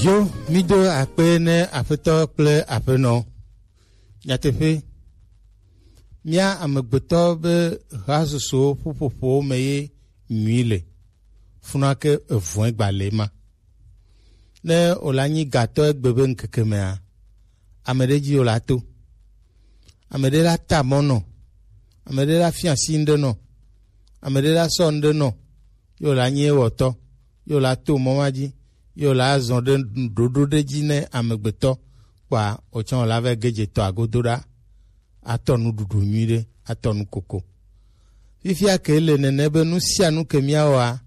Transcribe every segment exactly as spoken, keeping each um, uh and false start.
Yo, mído akpe ne Aƒetɔ kple Aƒenɔ. Nyateƒe, mía amegbetɔ be hasusuwo ƒuƒoƒowo me ye nyui le, funake evɔ̃e gba le ma. Ne wòla nyi gatɔ egbe be ŋkeke mea, ame ɖe dzi wòla to. Ame ɖe la ta mɔ nɔ. Ame ɖe la fia asi ŋɖe nɔ. Ame ɖe la sɔ ŋɖe nɔ. Ye wòla nyi ewɔtɔ. Ye wòla to mɔ ma dzi. Ye wòla zɔ ɖe ɖoɖo ɖe dzi ne amegbetɔ kpɔa, wòtsɔ wòla va ge dze tɔ agodo ɖa. Atɔ nuɖuɖu nyui ɖe, atɔ nu koko. Fifia ke le nene be nu sia nu ke míawɔa,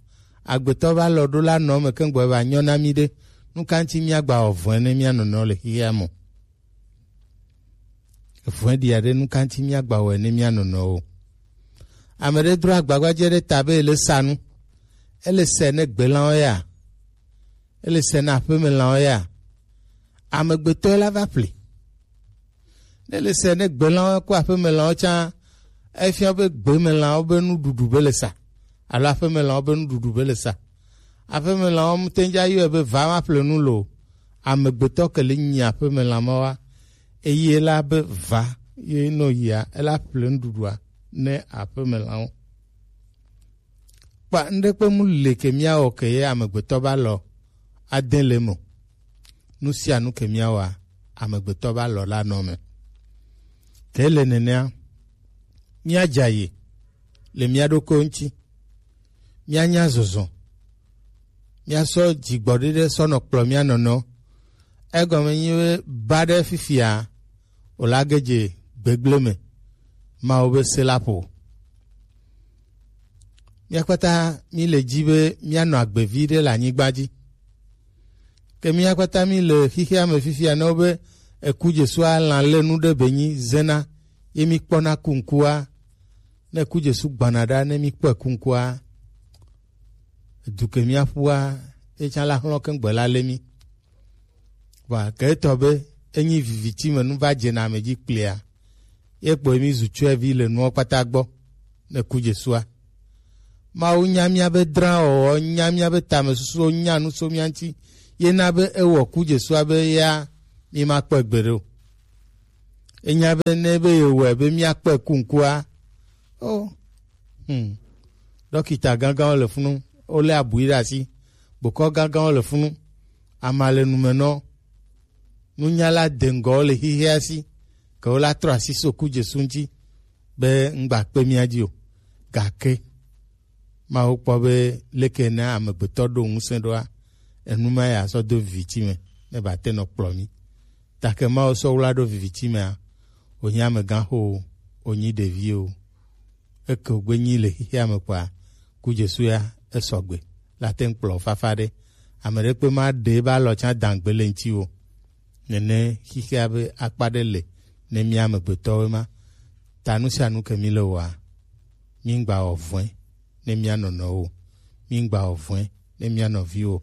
agbetɔ va lɔ ɖo la nɔ me keŋgbɔ va nyɔ na mí ɖe. Nu ka ŋuti míagba wɔ vɔ̃e ne mía nɔnɔ le xexea me? Vɔ̃e ɖia ɖe nu ka ŋuti míagba wɔe ne mía nɔnɔ o? Ame ɖe dro agbagbadzɛ ɖe ta be ele sa nu. Ele sɛ ne gbelanwo ya. Ele sɛ na aƒemelãwo ya. Amegbetɔe la va ƒle. Ne le se ne gbelanwo ko aƒemelãwo tsã, efia be gbemelãwo be nuɖuɖu be le sa, alo aƒemelãwo be nuɖuɖu be le sa. Aƒemelãwo mute ŋdza yɔe be va ma ƒle nu lo. Amegbetɔ ke le nyi aƒemelã ma wa, eye la be va ye no yia, ela ƒle nuɖuɖua ne aƒemelãwo. Kpa ŋɖekpe mu le ke míawɔ ke ye amegbetɔ ba lɔ ade le me o. Nu sia nu ke míawɔa, amegbetɔ ba lɔ la nɔ me. Ke le nenea, míadza yi le mía ɖokuiwo ŋuti. Míanya zɔzɔ. Míasɔ dzigbɔɖi ɖe sɔ nɔ kplɔ mía nɔnɔ. Egɔme nyi be ba ɖe fifia, wòla ge dze gbegblẽ me. Mawu be se la ƒo. Mía kpata mí le dzi be míanɔ agbe vi ɖe le anyigba dzi. Ke mía kpata mí le xixea me fifia ne wobe eku Jesua lã lé nu ɖe be nyi zena ye mí kpɔna ku ŋkua. Ne eku Jesu gbana ɖa ne mí kpɔe ku ŋkua, edu ke mía ƒua, etsã la xlɔ̃ keŋgbe la lé mí. Vɔa ke etɔ be enyi viviti me nu va dze na ame dzi kplia, ye kpɔe mí zu tsyɔevi le nuwo kpata gbɔ ne ku Jesua. Mawu nya mía be drã wɔwɔ, nya mía be tamesusuwo, nya nu so mía ŋuti, ye na be ewɔ ku Jesua be ya mí ma kpɔe gbeɖe o. Enya be ne be yewɔe be mía kpɔe ku ŋkua, o, hmm, ɖɔkita gãgãwo le funu, wolé abui ɖe asi, bokɔ gãgãwo le funu, ama le numenɔ, nunyala deŋgɔwo le xixea si, ke wola trɔ asi so ku Jesu ŋuti be ŋgba kpe mía dzi o. Gake Mawu kpɔ be leke ne amegbetɔ ɖo ŋusẽ ɖoa, enu ma ya sɔ do viviti me ne ba te nɔ kplɔ mí. Take Mawu sɔ wla ɖo viviti mea, wònyi amegãxo o, wònyi ɖevi o. Eke wògbe nyi le xexea me kpɔa, ku Jesu ya esɔgbe la te ŋu kplɔ fafa ɖe. Ame ɖe kpe ma ɖe ebe alɔ tsã dangbe le ŋuti o. Nene xexea be akpa ɖe le ne mía amegbetɔwo ma. Ta nu sia nu ke mí le wɔa, mí ŋgba wɔ vɔ̃e ne mía nɔnɔwo o. Mí ŋgba wɔ vɔ̃e ne mía nɔviwo o.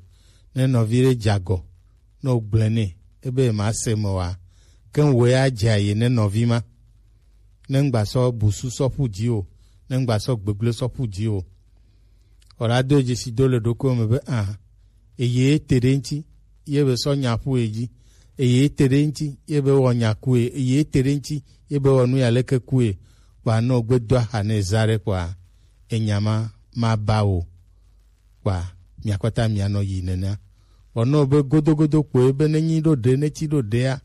Ne nɔvi ɖe dze agɔ, ne wogblɔe nɛ, ebe yemase me oa, ke ŋwɔe adze aye ne nɔvi ma. Ne ŋgba sɔ busu sɔ ƒu dzi o, ne ŋgba sɔ gbegblẽ sɔ ƒu dzi o. Wòla do dzesi do le ɖokuiwo me be, ah, eye te ɖe ŋuti, ye be sɔ nya ƒu ye dzi, eye te ɖe ŋuti, ye be wɔ nya ku ye, eye te ɖe ŋuti, ye be wɔ nu ya leke ku ye, kpɔa ne wògbe do axa ne eza ɖe kpɔa, enya ma, ma ba o. Kpɔa, mia kpata mia nɔ yi nenea. Vɔ ne wòbe godogodo kpoe be ne nyi ɖo ɖe, ne tsi ɖo ɖea,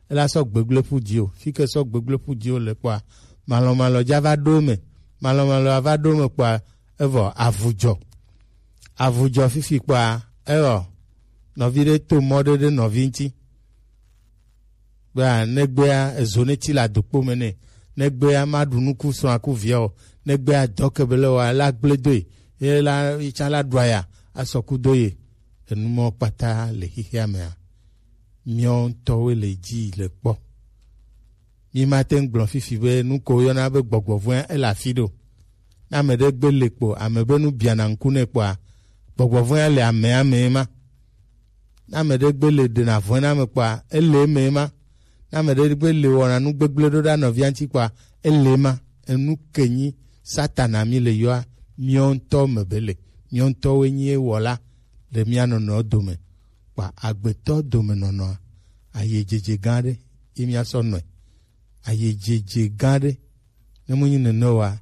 ela sɔ gbegblẽ ƒu dzi o. Fi ke sɔ gbegblẽ ƒu dzi o le kpɔa, malɔmalɔ dza va ɖo eme. Malɔmalɔ va ɖo eme kpɔa, evɔ avu dzɔ. Avu dzɔ fifi kpɔa, eyɔ nɔvi ɖe to mɔ ɖe ɖe nɔvi ŋuti. Bea negbea ezo ne tsi le adokpo me nɛ. Negbea maɖu nuku srɔ̃a ku via o. Negbea dɔ ke be le wa la gblẽ do ye. Ye la, yi tsã la ɖua ya, asɔ ku do ye. Enu mɔ kpata le xexea mea, míawo ŋutɔwoe le dzi le kpɔ. Mí mate ŋu gblɔ fifi be nu ko woyɔna be gbɔgbɔ vɔ̃e ele afi ɖo. Ne ame ɖe gbe le kpo, ame be nu biana ŋku nɛ kpɔa, gbɔgbɔ vɔ̃e le amea mee ma. Ne ame ɖe gbe le ɖena vɔ̃e na ame kpɔa, ele eme ma. Ne ame ɖe gbe le wɔna nu gbegblẽ ɖo ɖa nɔvia ŋuti kpɔa, ele ma. Enu ke nyi Satana mí le yɔa, míawo ŋutɔ me be le. Míawo ŋutɔwoe nyi ewɔla le mía nɔnɔewo dome. Kpa agbetɔ domenɔnɔa, ayejeje gã ɖe ye míasɔ nɔe. Ayejeje gã ɖe. Ne mu nyi nene oa,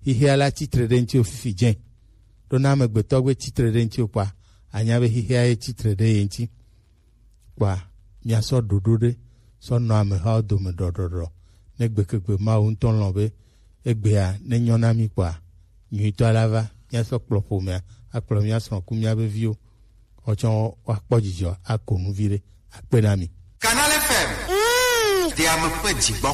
xixea la tsitre ɖe ŋuti o fifi jɛ. Ɖo ne amegbetɔ gbe tsitre ɖe ŋuti o kpa, anya be xixea ye tsitre ɖe ye ŋuti. Kpa míasɔ ɖoɖo ɖe sɔ nɔ amehawo dome ɖɔɖɔɖɔ. Ne gbekegbe Mawu ŋutɔ lɔ̃ be egbea ne nyɔ na mí kpa, nyuitɔ la va, míasɔ kplɔ ƒomea, akplɔ mía srɔ̃ ku mía be viwo. Woatsɔ woakpɔ dzidzɔ, ako nu viɖe, akpe na mi. Canal F M. Ɖe ame ƒe dzi gbɔ.